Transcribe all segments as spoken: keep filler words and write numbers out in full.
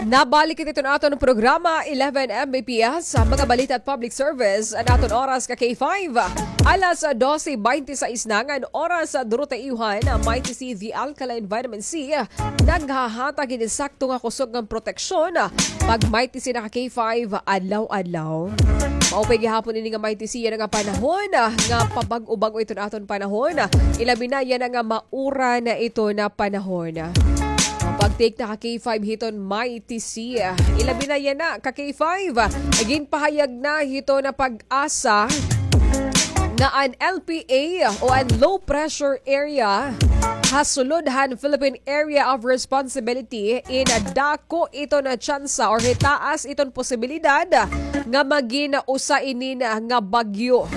Nabalik kita iton aton programa, eleven M B P S, mga balita at public service. An aton oras ka K five, alas dose bente sais na ngan oras. Durotay iyohan, Mighty C V Alkaline Vitamin C, naghahatag hin insakto nga kusog nga proteksyon. Pag Mighty C na ka K five, adlaw-adlaw. Maupay gihapon ini nga Mighty C, yana nga panahon, nga pabag-o-bag-o iton aton panahon. Ilabi na yana nga mauran iton panahon. Pag-take na ka K five hiton Mighty C. Ilabi na yana ka K five. Ginpahayag na hiton PAGASA nga an L P A o an low pressure area ha sulod han Philippine Area of Responsibility in dako iton tsansa or hitaas iton posibilidad nga magin usa inin nga bagyo.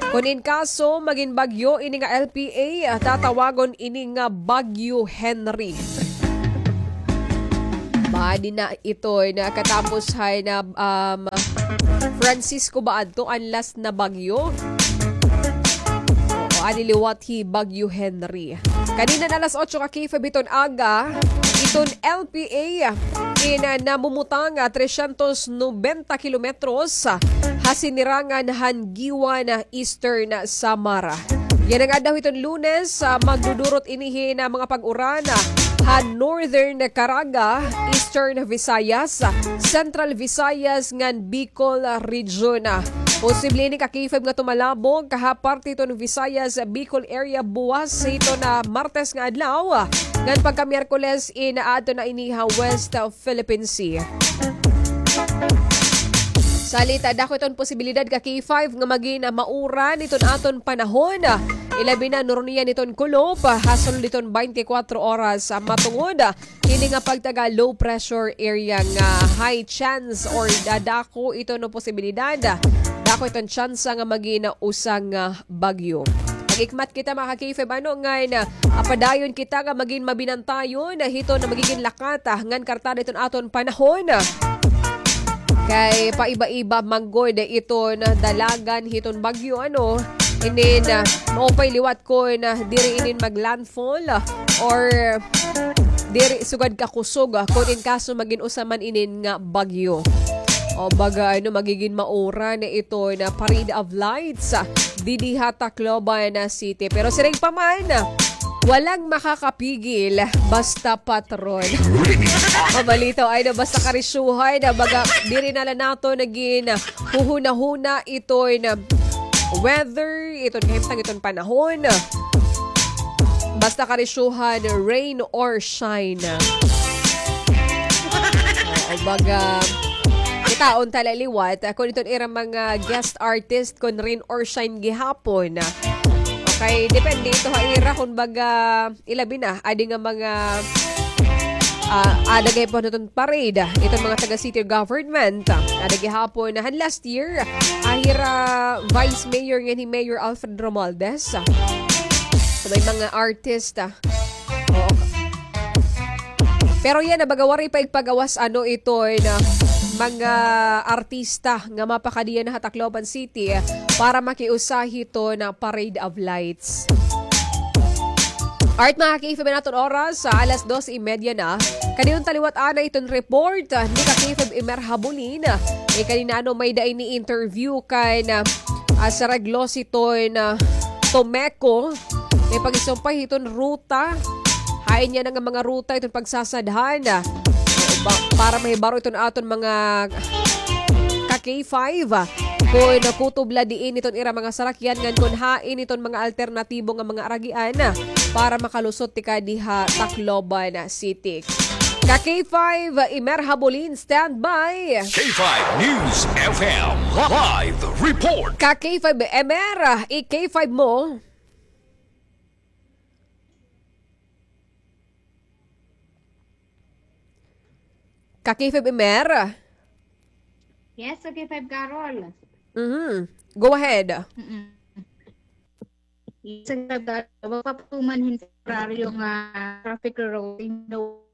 Kon in kaso magin bagyo ini nga L P A, tatawagon ini nga Bagyo Henry. Maadi na iton katapos han, um, Francisco ba adto an last na bagyo? Oo, ani liwat hi Bagyo Henry. Kanina na alas otso ka K five hiton aga, iton L P A in, ah, namumutang, ah, trescientos noventa kilometros, ah, ha sinirangan han Guiuan, ah, Eastern Samar. Yana nga adlaw hiton Lunes, ah, magdudurot ini hin, ah, mga pag-uran, ah, ha Northern Caraga, Eastern Visayas, ah, Central Visayas ngan Bicol, ah, Region, ah. Posible ini ka K five nga tumalabog ha parte hiton Visayas, ah, Bicol area buwas hiton, ah, Martes nga adlaw, ah, ngan pagka Miyerkules in aadto na ini ha West, ah, Philippine Sea. Salit, ah, dako iton posibilidad ka K five nga magin, ah, mauran iton aton panahon. Ilabi na nuron niyan iton kulop, ah, ha sulod hiton twenty-four oras, ah, matungod, ah, hini nga pagtaga low pressure area nga high chance or da-, dako iton posibilidad, ah, dako iton tsansa nga magin, ah, usa nga bagyo. Mag-ikmat kita, mga ka-K five, ano, ngan, ah, padayon kita nga magin mabinantayon, ah, hiton magigin lakat, ah, ngan kartada hiton aton panahon. Kay paiba-iba man gud iton dalagan hiton bagyo, ano. Inin, ah, maupay liwat kon, ah, diri inin mag-landfall, ah, or diri sugad kakusog, ah, kon in kaso magin usa man inin nga bagyo. O baga, ano, magigin mauran iton, ah, Parade of Lights, ah, didi ha Tacloban, ah, City. Pero siring pa man, ah, walang makakapigil, basta patron. Mabalitaw ay na basta karisyuhan, na baga diri na la naton nagin huhunahuna iton weather, iton kahimtang, iton panahon. Basta karisyuhan, rain or shine. Oo, baga, kitaon ta la liwat, ah, kon iton ira mga guest artist, kon rain or shine gihapon. Okay, depende ito ha ira, kon baga, ilabi na, adi nga mga, ah, ada gihapon iton parade, iton mga taga city government, ada gihapon, han last year, ah, hira Vice Mayor ngan hi Mayor Alfred Romualdez. So, may mga artist, ah. Oo. Pero yana, baga waray pa igpagawas, ano, iton mga artista nga mapakadi yana ha Tacloban City para makiusa hiton Parade of Lights. Alright, mga ka-K five, an aton oras, ah, alas dos y media na. Kadi unta liwat anay iton report, ah, ni ka-K five Emer Habulin. Eh, kanina, ano, may-ada ini interview kan, ah, ah, sa Reglos hiton, ah, Tomeco. May pag-isumpay hiton ruta. Hain yana nga mga ruta iton pagsasadhan, ah, ba-, para mahibaro iton aton mga ka-K five, ah, kon kutob la diin iton ira mga sarakyan ngan kon hain iton mga alternatibo nga mga aragian, ah, para makalusot tikang dinhi ha Tacloban City. Ka-K five, Emer Habulin, standby. K five News F M live report. Ka-K five Emer, i-K five mo. Ka-K five Emer. Yes, ka-K five Carol. Mhm. Go ahead. Mm-mm. Yes, ka-K five Carol. Magpapatuman hin temporaryo nga traffic rerouting daw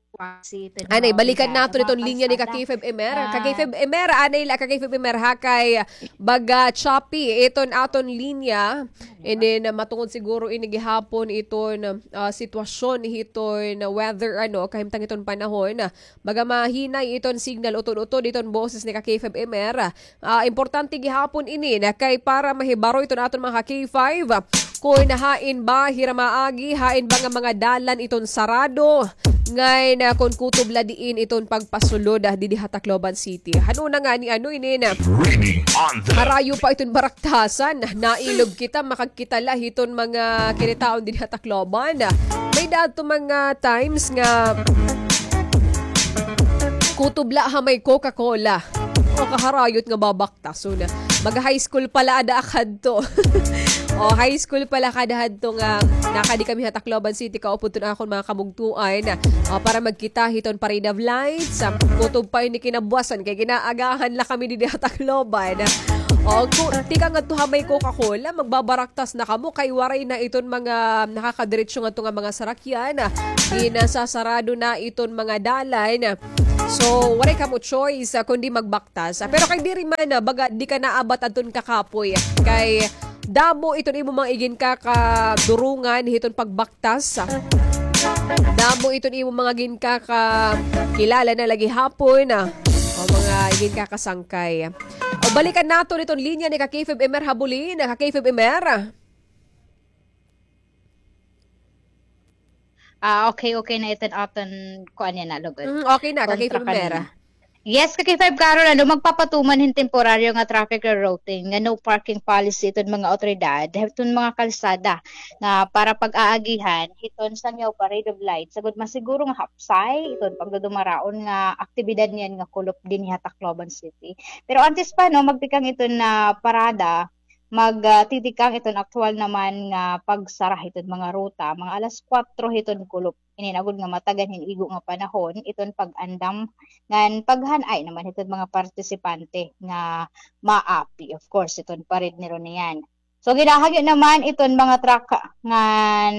Anay, balikan naton iton linya ni ka K five M R. Ka K five M R, anay la, ka K five M R, ha, kay baga choppy iton aton linya. And then, ah, matungod siguro ini gihapon iton, ah, sitwasyon hiton weather, ano, kahimtang hiton panahon. Baga mahinay iton signal, utod-utod iton boses ni ka K five M R. Ah, importante gihapon ini na kay para mahibaro iton aton mga K five, kun hain ba hira maagi, hain ba nga mga dalan iton sarado, ngan, ah, kun kutob la diin iton pagpasulod, ah, didi ha Tacloban City. Hano na ngani, ano ini na? Harayo pa iton baraktasan, nailog kita, makagkita la hiton mga kinitaon didi ha Tacloban. May-ada adto mga times nga kutob la ha may Coca-Cola. O, kaharayot nga babaktason. Mag-high school pa la ada ak hadto. O, high school pa la ak ada hadto nga nakadi kami ha Tacloban City, kaupod iton akon mga kabugtoan. O, para magkita hiton Parade of Lights. Ah, kutob pa ini kinabuwasan kay ginaagahan la kami didi ha Tacloban. O, ku-, tikang ngadto ha may Coca-Cola, magbabaraktas na kamo kay waray na iton mga nakakadiretso ngadto nga mga sarakyan. Ginasasarado na iton mga dalan. So, waray kamo choice, ah, kundi magbaktas. Ah, pero kay diri man, ah, baga di ka naabat adton kakapoy. Kay damo iton imo mga iginkakadurungan hiton pagbaktas. Damo iton imo mga ginkakakilala na la gihapon, ah, o mga ginkakasangkay. O, balikan naton iton linya ni ka K five M R Habulin, ka K five M R. Ah, okay, okay na iton aton kuan yana, lugod. Mm, okay na, ka K five M R. Yes, ka K five Carol, ano, magpapatuman hin temporaryo nga traffic rerouting, nga no parking policy iton mga awtoridad, iton mga kalsada, nga para pag-aagihan hiton Sangyaw Parade of Lights, sagud masiguro nga hapsay iton pagdudumaraon nga aktibidad niyan nga kulop dinhi ha Tacloban City. Pero antes pa, no, magtikang iton nga parada, mag, ah, titikang iton aktuwal naman nga pagsara hiton mga ruta, mga alas kuwatro hiton kulop. Inin agod nga matagan hin igo nga panahon iton pag-andam ngan paghan-ay naman hiton mga partisipante nga maapi, of course, hiton parade nira niyan. So, ginahagyo naman iton mga truck ngan,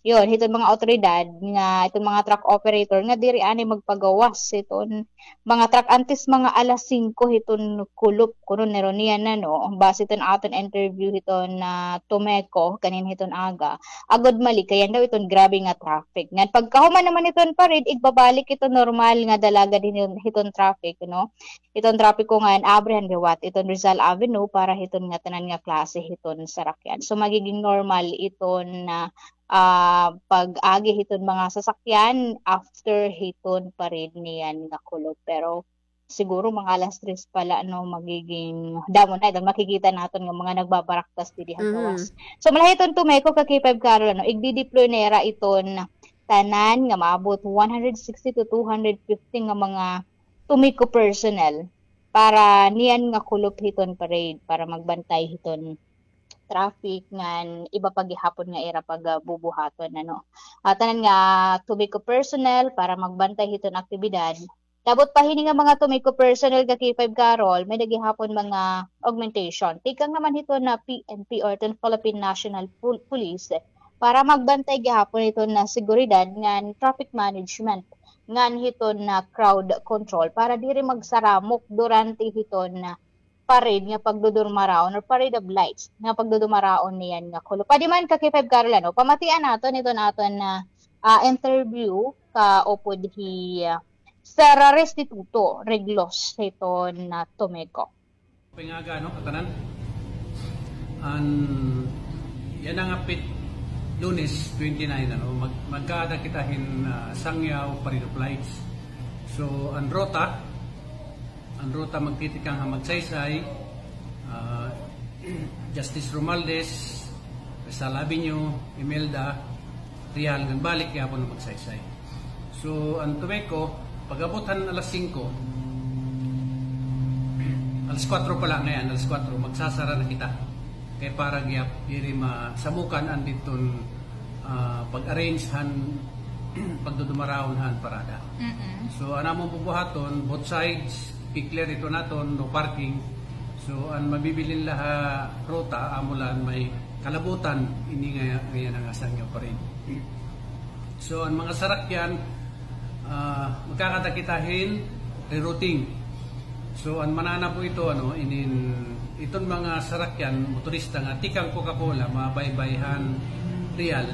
yun, hiton mga awtoridad nga, iton mga truck operator nga diri anay magpagawas hiton mga truck antes mga alas singko hiton kulop, kuno nira niyan, ano, base hiton aton interview hiton, ah, Tomeco kanin hiton aga. Agod malikayan daw iton grabe nga traffic. Ngan pagkahuman naman hiton parade, igbabalik iton normal nga dalagad hin-, hiton traffic, no? Iton trapiko ngan abrihan liwat iton Rizal Avenue para hiton ngatanan nga klase hiton sarakyan. So, magiging normal iton, ah, ah, pag-agi hiton mga sasakyan after hiton parade niyan nga kulop. Pero siguro mga alas tres pa la, no, magiging damo na iton makikita naton nga mga nagbabaraktas didi ha gawas. So, mula hiton Tomeco ka K five Carol, ano, igdi-deploy na ira iton tanan nga maabot one hundred sixty to two hundred fifty nga mga Tomeco personnel para niyan nga kulop hiton parade, para magbantay hiton traffic ngan iba pa gihapon nga ira pagabubuhaton, ano. Ah, tanan nga Tomeco personnel para magbantay hiton aktibidad. Labot pa hini nga mga Tomeco personnel ka K five Carol, may-ada gihapon mga augmentation. Tikang naman hiton P N P or hiton Philippine National Pol-, Police para magbantay gihapon hiton seguridad ngan traffic management ngan hiton crowd control para diri magsaramok durante hiton parade nga pagdudumaraon or parade of lights nga pagdudumaraon niyan nga kulop. Padi man ka K five Carol, ano, pamatian naton iton aton, ah, ah, interview kaupod hi, ah, Sir Restituto Reglos hiton, ah, Tomeco. Pingaga, no, katanan. An, yana nga pit Lunes twenty-nine, ano, mag-, magkaada kita hin, ah, Sangyaw Parade of Lights. So, an ruta, an ruta magtitikang ha Magsaysay, ah, Justice Romualdez, Rizal Avenue, Imelda, Real, ngan balik gihapon ha Magsaysay. So, an Tomeco, pag-abot han alas singko, alas kuwatro pa la ngay-an, alas kuwatro, magsasara na kita. Kay para gihap-, diri masamukan an didton, ah, pag-arrange han pagdudumaraon han parada. So, an amon bubuhaton, both sides, i-clear ito naton, no parking. So, an mabibilin la ha ruta, amo la an may kalabutan, ini nga, ngayan an Sangyaw Parade. So, an mga sarakyan, Ah, magkakadakita hin rerouting. So, an mananabo ito, ano, inin, iton mga sarakyan, motorista nga tikang Coca-Cola, mabaybay han Real.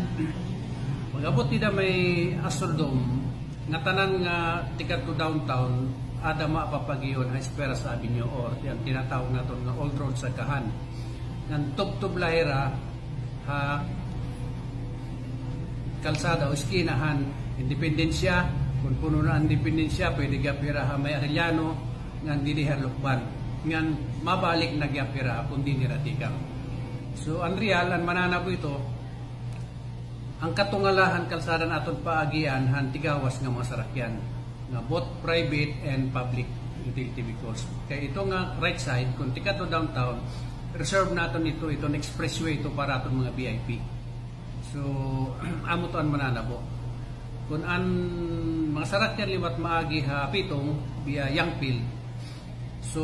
Pag-abot dida may Astrodome, ngatanan nga tikadto downtown, ada mapapagion ha Esperas Avenue or ti-, an tinatawag naton nga Old Road Sagkahan. Ngan tubtob la hira ha kalsada o eskina han Independencia. Kon puno na an Independencia, pwede gihap hira ha may Arellano, ngan didi ha Lukban. Ngan mabalik na gihap hira kon diin hira tikang. So, an Real, an mananabo ito, an katungalahan kalsada an aton paagian han tigawas nga mga sarakyan, nga both private and public utility vehicles. Kay ito nga right side, kon tikadto downtown, reserve naton ito, iton expressway ito para aton mga V I P. So, amo to an mananabo. Kon an mga sarakyan liwat maagi ha Pitong, via Youngfield, so,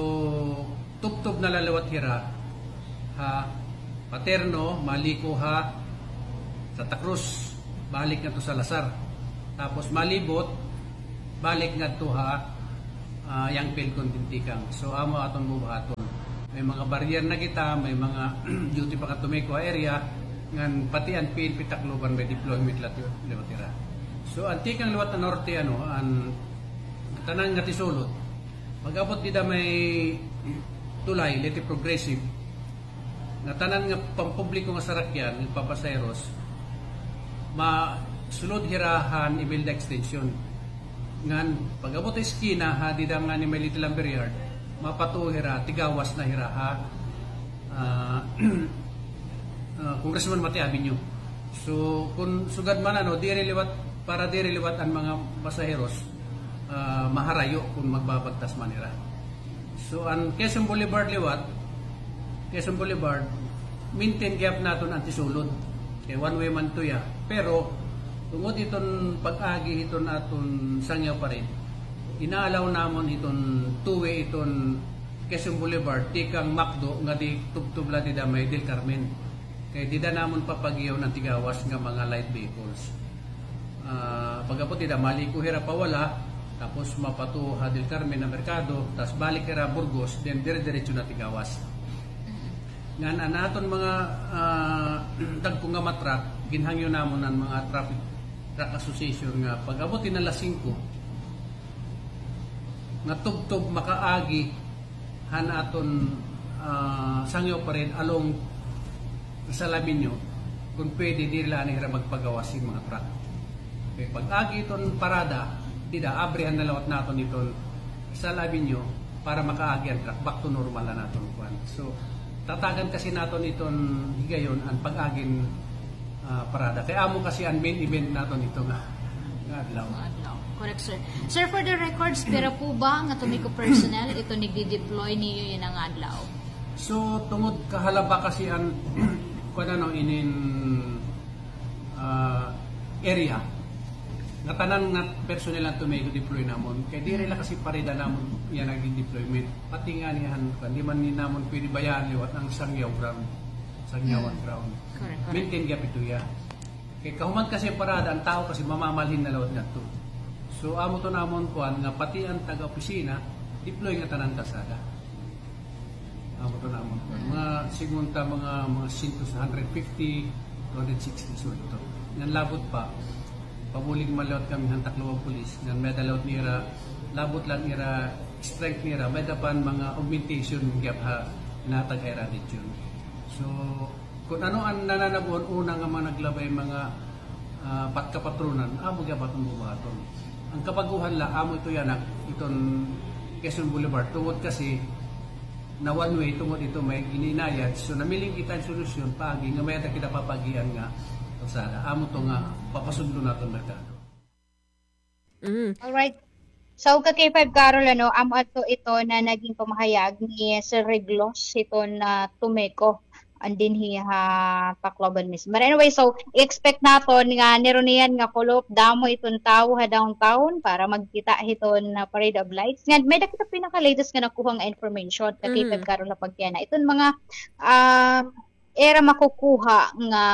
tubtob na la liwat hira ha Patterno, maliko ha Santa Cruz, balik ngadto Salazar. Tapos malibot, balik ngadto ha, ah, Youngfield kon diin tikang. So, amo aton bubuhaton. May mga barrier na kita, may mga duty pa nga Tomeco area, ngan pati an P N P Tacloban may deployment la ti-, liwat hira. So, an tikang liwat ha norte, ano, an tanan nga tisulod. Pag-abot dida may tulay, Leyte Progressive, nga tanan nga pampubliko nga sarakyan, nga papasaheros, masulod hira han Imelda Extension. Ngan, pag-abot ha eskina, ha, dida nga ni may Little Lumber Yard, mapatuo hira, tigawas na hira, ha, ah, ah, Congressman Mate Avenue. So, kon sugad man, ano, diri liwat, para diri liwat an mga pasaheros, ah, maharayo kon magbabagtas man hira. So, an Quezon Boulevard liwat, Quezon Boulevard, maintain gihap naton an tisulod. Kay one way man ito, ya. Pero, tungod iton pag-agi hiton aton Sangyaw Parade, ina-allow namon iton two-way iton Quezon Boulevard, tikang McDo, ngadi tubtob la dida may Del Carmen. Kay dida namon papagihon an tigawas nga mga light vehicles. Ah, pag-abot dida, maliko hira pawala, tapos mapatuo ha Del Carmen nga merkado, tas balik hira Burgos, then dire-diretso na tigawas. Ngan an aton mga, ah, dagko nga mga truck, ginhangyo namon an mga traffic, truck association nga pag-abot hin alas singko, nga tubtob makaagi han aton, ah, Sangyaw Parade along Rizal Avenue, kon pwede, diri la anay hira magpagawas hin mga truck. Kay pag-agi iton parada, dida, abrihan na liwat naton iton Rizal Avenue para makaagi an truck, back to normal na naton kuan. So, tatagan kasi naton iton higayon an pag-agin ah, parada. Kay amo kasi an main event naton ito nga, nga adlaw. Nga adlaw. Correct, sir. Sir, for the records, pira po ba nga Tomeco personnel ito nagdi-deploy niyo yana nga adlaw? So, tungod kahalaba kasi an, kuan, ano, inin, ah, area, ngatanan nga personnel an Tomeco deploy namon. Kay diri la kasi parada namon yana nagdi-deployment. Pati ngani han, kuan, di man ni namon pwede bayaan liwat an Sangyaw ground. Sangyawan ground. Correct, correct. Maintain gihap ito, ya. Kay kahuman kasi parada, an tawo kasi mamamalhin na liwat ngadto. So, amo to namon kuan nga pati an taga-opisina, deploy ngatanan kalsada. Amo to namon kuan. Mga, sigunta, mga, mga siyento, hundred fifty, two hundred sixty, so ito. Ngan labot pa, pabulig man liwat kami han Tacloban Police, ngan may-ada liwat nira, labot la an ira strength nira, may-ada pa an mga augmentation gihap ha, nahatag ha ira region. So, kon ano an nananabo-an una nga mga naglabay mga, ah, pat-, kapatronan, amo gihap aton bubuhaton. An kabaguhan la, amo ito yana, iton Quezon Boulevard. Tungod kasi na one way, tungod ito may gin-inayad. So, namiling kita hin solusyon, paagi nga may-ada kita papaagian nga kalsada. Amo to nga papasudlon naton merkado. Mm. Alright. So, ka K five Carol, ano, amo ato ito na naging pamahayag ni Sir Reglos hiton, ah, Tomeco, an dinhi ha Tacloban mismo. But anyway, so, expect naton nga niruniyan nga kulop, damo iton tawo ha downtown para magkita hiton, ah, Parade of Lights. Ngan may-ada kita pinaka-latest nga nakuha nga information, ka K five Carol, ha pagkiana. Iton mga, ah, ira makukuha nga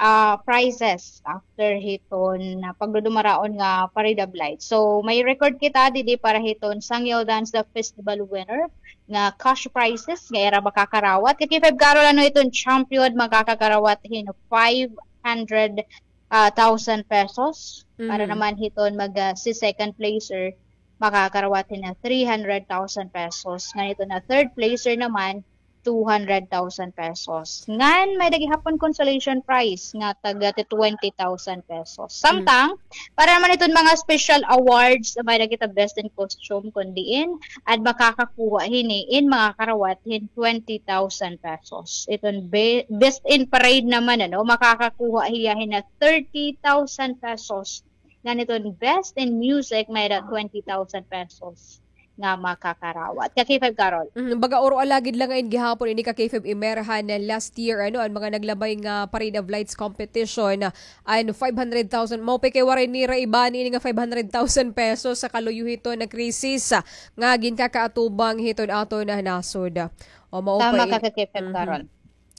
ah, prizes after hiton, ah, pagdudumaraon nga Parade of Lights. So, may record kita didi para hiton Sangyaw Dance the Festival winner nga cash prizes nga ira makakarawat. Ka K five Carol, ano, iton champion makakakarawat hin five hundred, ah, thousand pesos. Para naman hiton mag, ah, si second placer, makakarawat hin na three hundred thousand pesos. Ngan iton na third placer naman, two hundred thousand pesos. Ngan may-ada gihapon consolation prize nga tag twenty thousand pesos. Samtang, para naman iton mga special awards, may-ada kita best in costume, kun diin an makakakuha hini in makakarawat hin twenty thousand pesos. Iton be-, best in parade naman, ano, makakakuha hiya hin na thirty thousand pesos. Ngan iton best in music, may-ada twenty thousand pesos nga makakarawat. Ka K five Carol. Mm, baga oro alagid la ngay-an gihapon ini, ka K five Emer, han last year, ano, an mga naglabay nga Parade of Lights competition, an five hundred thousand, mao pa kay waray nira ibani ini nga five hundred thousand pesos sa kaluyo hiton nga krisis, ah, nga ginkakaatubang hiton aton nga nasod. O, mao pa. Tama ka, ka K five Carol.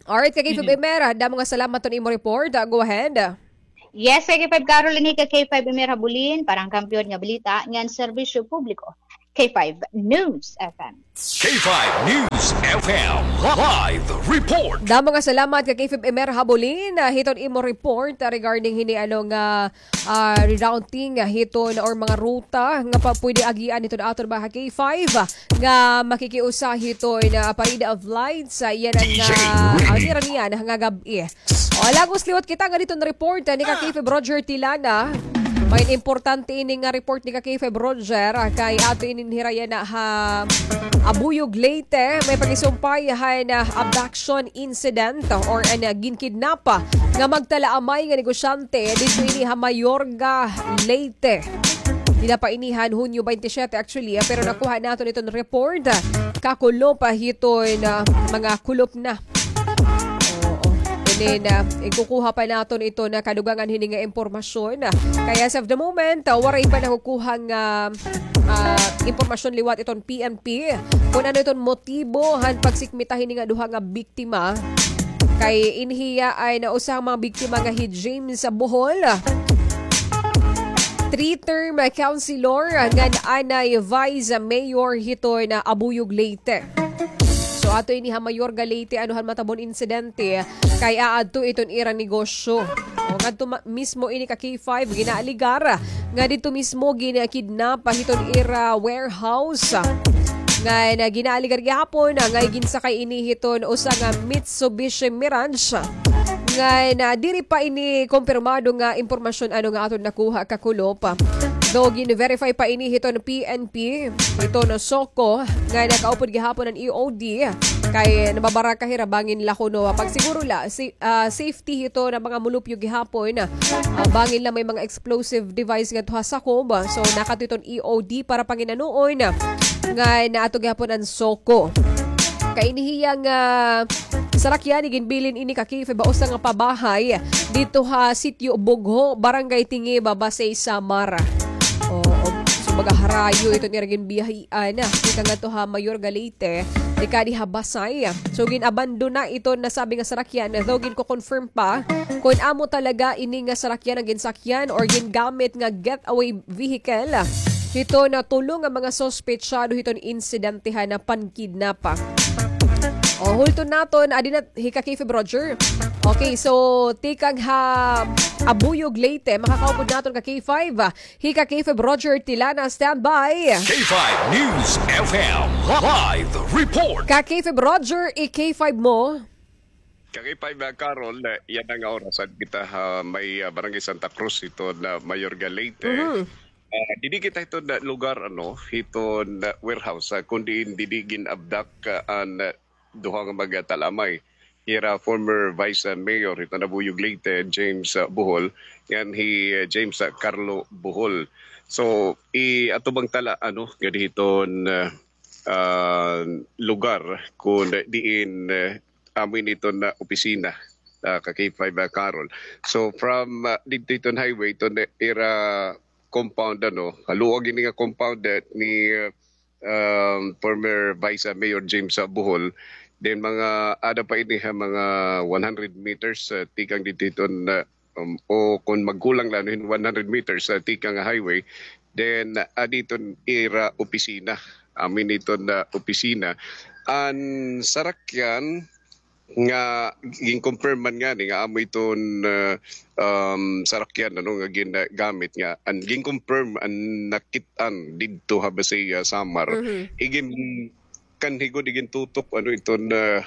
Alright, ka K five Emer, damo nga salamat ton imo report. Ah, go ahead. Yes, ka K five Carol, ini ka K five Emer Habulin, para han Kampiyon nga Balita ngan Serbisyo Publiko. K five News F M. K five News F M live report. Damo nga salamat ka K five Emer Habulin, ah, hiton imo report, ah, regarding hini, ano, nga, ah, rerouting, ah, hiton or mga ruta nga pa-, pwede agian hiton aton mga K five, ah, nga makikiusa hiton, ah, Parade of Lights, ah, yana nga, ah, nira niyan nga gab-i. O, lagos liwat kita nga diton report, ah, ni ka K five Roger Tilana. May importante ini nga report ni ka K five Roger, ah, kay ato ini hira yana ha Abuyog, Leyte. May pakisumpay han, ah, abduction incident or an, ah, ginkidnap, ah, nga magtalaamay nga negosyante didto ini ha Mayorga, Leyte. Dida pa ini han Hunyo twenty-seven actually, ah, pero nakuha naton iton report, ah, kakulop hiton, ah, mga kulop na. Oo. And then, ah, ikukuha pa naton iton kadugangan hini nga impormasyon. Kay as of the moment, ah, waray pa nakukuha nga, ah, impormasyon liwat iton P N P kun ano iton motibo han pagsikmita hini nga duha nga biktima. Kay ini hiya an usa nga mga biktima nga hi James Bohol. Three-term councilor ngan anay vice mayor hiton Abuyog, Leyte. So, ato ini ha Mayorga, Leyte, ano han matabon insidente, kay aadto iton ira negosyo. O, ngadto ma-, mismo ini ka K five, ginaaligar nga didto mismo ginkidnap hiton ira warehouse. Ngan ginaaligar gihapon nga ginsakay ini hiton usa nga Mitsubishi Mirage. Ngan diri pa ini kumpirmado nga impormasyon ano nga aton nakuha kakulop. Though gin-verify pa ini hiton P N P, hiton SOCO, nga nakaupod gihapon an E O D, kay nababaraka hira bangin la kuno pagsiguro la, si, ah, safety hiton mga mulupyo gihapon, ah, bangin la may mga explosive device ngadto ha sakob. So, nakadto iton E O D para panginanuon nga naato gihapon an SOCO. Kay ini hiya nga sarakyan, iginbilin ini ka K five ha usa nga pabahay didto ha Sitio Bugho, Barangay Tingiba, Basey, Samar. Oo. So, baga harayo iton ira ginbiyahian, ah, tikang ngadto ha Mayorga, Leyte, tikang dinhi ha Basey. So, gin-abandona iton nasabi nga sarakyan, though ginko-confirm pa kun amo talaga ini nga sarakyan an ginsakyan or gingamit nga getaway vehicle hiton tulo nga mga suspetsado hiton insidente han pankidnap. O, hulton naton, adi na hi ka K five Roger. Okay, so, tikang ha Abuyog, Leyte, makakaupod naton ka K five, hi ka K five Roger Tilana, standby. K five News F M live report. Ka K five Roger, i-K five mo. Ka K five, ah, Carol, ah, yana nga oras, ah, kita ha may, ah, Barangay Santa Cruz hiton Mayorga, Leyte. Mhm. Ah, didi kita hiton lugar, ano, hiton warehouse, ah, kun diin didi gin-abduct, ah, an, ah, duha nga magtalaamay. Hira former Vice, ah, Mayor hiton Abuyog, Leyte, James, ah, Bohol, ngan hi, ah, James, ah, Carlo Bohol. So, i-, ato bang tala, ano, ngadi hiton, ah, ah, lugar kun diin, ah, amo ini iton, ah, opisina, ah, ka K five, ah, Carol. So, from, ah, didto hiton highway, iton, ah, ira compound, ano, haluag ini nga compound, ah, ni, ah, um, former Vice, ah, Mayor James, ah, Bohol, Then mga ada pa ini ha mga one hundred meters, ah, tikang didto hiton, ah, um, o kon magkulang la hin one hundred meters, ah, tikang nga highway, then, ah, didto ira opisina. Amo ini iton, ah, opisina. An sarakyan nga gin-confirm man ngani nga amo iton, ah, um, sarakyan, ano, nga ginagamit nga an gin-confirm an nakit-an didto ha Basey, ah, Samar. Mhm. Igin kanhi gud igintutok, ano, iton, ah,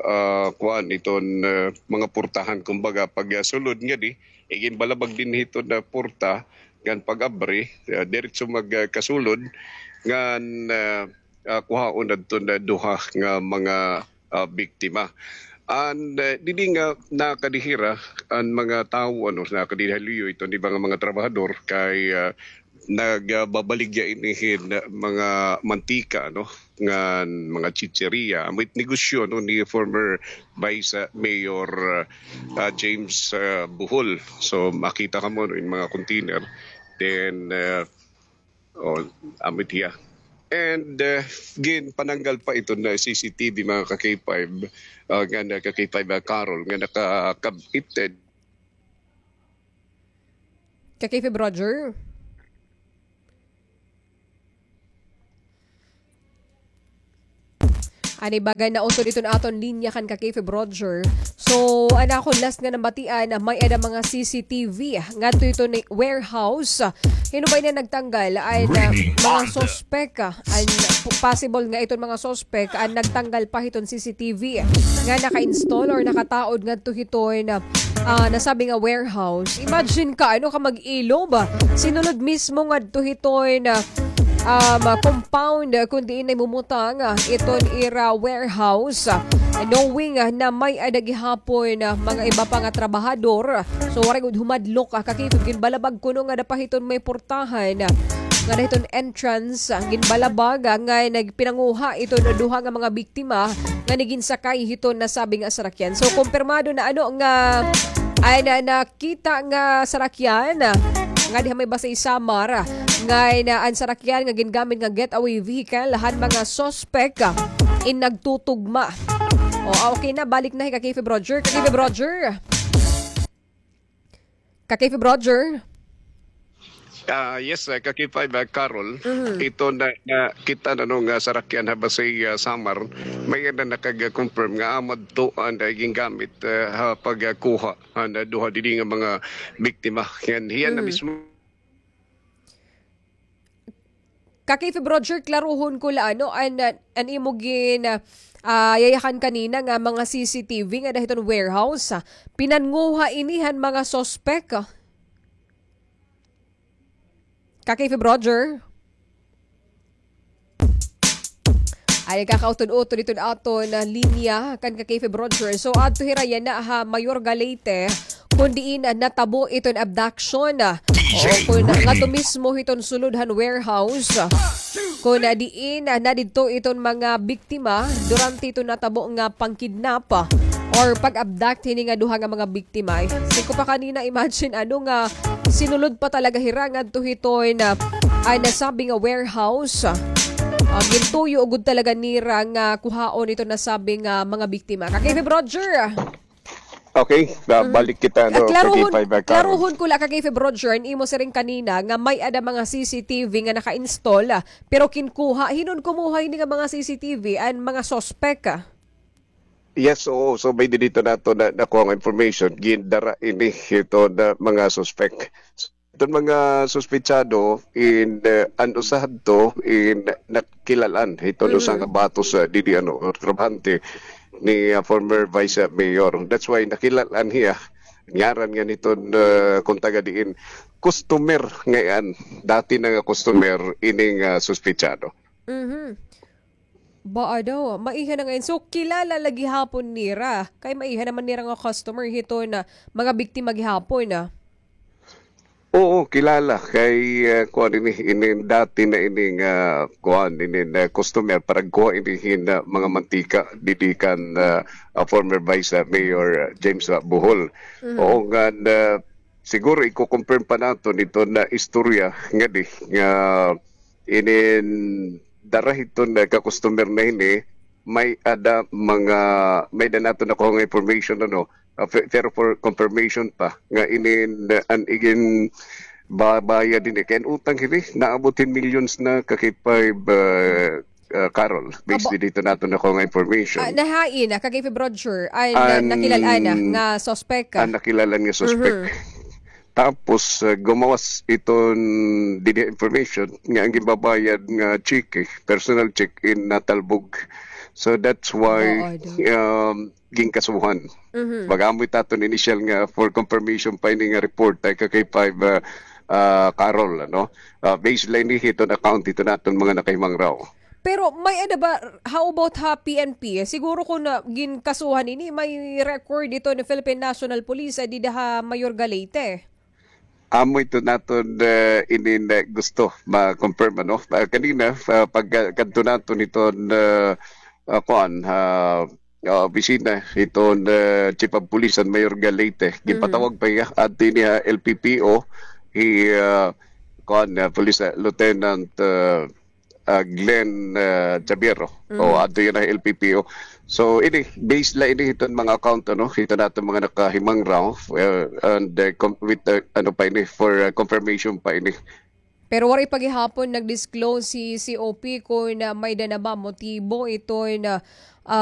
ah, kuan, iton, ah, mga portahan, kumbaga, pag, ah, sulod ngadi, iginbalabag dinhi iton, ah, porta, ngan pag-abri, ah, diretso mag, ah, kasulod, ngan, ah, ah, kuhaon adton, ah, duha nga mga, ah, biktima. An, ah, didi nga nakadihira an mga tawo, ano, nakadihira ha luyo iton iba nga mga trabahador kay, ah, nagababaligya ini hin mga mantika, no, ngan mga chicheria. Amo it negosyo, no, ni former Vice, ah, Mayor, ah, James, ah, Bohol. So, makita kamo, no, in mga container. Then, ah, oh, amo it hiya. And, ah, ginpananggal pa iton C C T V, mga ka-K five, ah, nga na ka-K five, ah, Carol, nga nakakab-, it, Ka-K five Roger? Anay baga nautod iton aton linya kan Ka-K five Roger. So, an akon last nga nabatian, may-ada mga C C T V ngadto hiton warehouse. Hin-o ba ini nagtanggal? An, ah, mga suspek, ah, an p-, possible nga iton mga suspek an nagtanggal pa hiton C C T V nga naka-install or nakataod ngadto hiton, ah, nasabi nga warehouse. Imagine ka, ano ka mag-ilob, ah, sinulod mismo ngadto hiton, ah, um, compound, ah, kun diin namumutang, ah, iton ira warehouse, ah, knowing, ah, na may-ada gihapon, ah, mga iba pa nga trabahador. So, waray gud humadlok, ah, ka-K five, ginbalabag kuno nga ada pa hiton may portahan, ah, nga ada hiton entrance, ah, ginbalabag, ah, nga nagpinanguha iton duha nga mga biktima nga ginsakay hiton nasabi nga sarakyan. So, kumpirmado na, ano, nga, ay, na, nakita nga sarakyan, ah, nga diha may Basey Samar, ah, nga, na, an sarakyan nga gingamit nga getaway vehicle han mga suspek, ah, in nagtutugma. O, ah, okay na, balik na hi ka-K five Roger. Ka-K five Roger? Ka-K five Roger? Ah, yes, ah, ka-K five, ah, Carol. Mhm. Ito na, nakita na, no, nga sarakyan ha Basey, ah, Samar, may-ada nakag-confirm nga amo adto an, ah, gingamit, ah, ha pagkuha han duha didi nga mga biktima. Ngan hiya na mismo. Ka-K five Roger, klaruhon ko la, ano, an, an imo gin, ah, yayakan kanina nga mga C C T V nga ada hiton warehouse, ah, pinanguha ini han mga suspek, ah. Ka-K five Roger? Ay, kakautod-utod iton aton, ah, linya kan ka-K five Roger. So, adto hira yana ha Mayorga, Leyte, kun diin, ah, natabo iton abduction, ah. Oo, kun ngadto mismo hiton sulod han warehouse, ah, kun, ah, diin, ah, nadidto iton mga biktima durante iton natabo nga pangkidnap, ah, or pag-abduct hini nga duha nga mga biktima. Siring ko pa kanina, imagine, ano, nga sinulod pa talaga hira ngadto hiton, ah, an nasabi nga warehouse. Ah, gintuyo gud talaga nira nga kuhaon iton nasabi nga mga biktima. Ka-K five Roger. Okay, ah, balik kita, no, ka-K five, ah, Carol. Klaruhon ko la, ka-K five Roger, an imo siring kanina nga may-ada mga C C T V nga naka-install, ah, pero kinkuha. Hin-o an kumuha hini nga mga C C T V, an mga suspek, ah? Yes, oo. So, may didto naton na, nakuha nga information, gindara ini hiton mga suspek. Iton mga suspetsado in, eh, an usa hadto in nakilal-an hiton usa nga batos, ah, didi, ano, trabahante ni, ah, former vice, ah, mayor. That's why nakilal-an hiya. Ngaran ngan hiton, ah, kun taga diin, customer ngay-an. Dati na nga customer ining, ah, suspetsado. Mhm. Baa daw, maiha na ngay-an. So, kilala la gihapon nira. Kay maiha naman nira nga customer hiton mga biktima gihapon, ah. Oo, kilala. Kay, ah, kuan ini, ini dati na ini nga, kuan ini, na customer para kuha ini hin, ah, mga mantika didi kan, ah, ah, former Vice, ah, Mayor, ah, James, ah, Bohol. Mhm. Oo, ngan, ah, siguro iko-confirm pa naton iton istorya ngadi nga inin dara hiton ka-customer na hini, may-ada mga, may-ada naton nakuha nga information, ano, ah, fe-, pero for confirmation pa, nga inin, ah, an igin babayad ini. Kay an utang hini, naabot hin millions na ka K five, ah, ah, Carol, based didto naton nakuha nga information. Ah, nahain na ka K five Roger, an, ah, nakilal-an na nga suspek ka? An nakilal-an nga suspek. Tapos, ah, gumawas iton didi information nga an ginbabayad nga cheque, personal cheque, in natalbog. So that's why, um, ginkasuhan. Pag-amo it aton initial nga for confirmation pa ini nga report, ay ka K five, ah, ah, Carol, ano? Ah, base la ini hiton account hiton aton mga nakahimangraw. Pero may-ada ba, how about ha P N P? Siguro kon, ah, ginkasuhan ini, may record ito ni Philippine National Police, ah, dida ha Mayor Galete. Amo ito naton, ah, inin, ah, gusto ma-confirm, ano? Ah, kanina, ah, pagkadto naton iton, ah, ah, kuan, ah, ah, opisina iton, ah, Chief of Police han Mayor Galete, ginpatawag pa hiya adto ini ha L P P O, hi, ah, kuan, ah, Police, ah, Lieutenant, ah, ah, Glenn, ah, Javiero. O, adto yana ha L P P O. So, ini, base la ini hiton mga account, ano, hiton aton mga nakahimangraw, ah, and, ah, com-, with, ah, ano pa ini, for, ah, confirmation pa ini. Pero waray pa gihapon nag-disclose si C O P kon, ah, may-ada na ba motibo iton, ah, ah,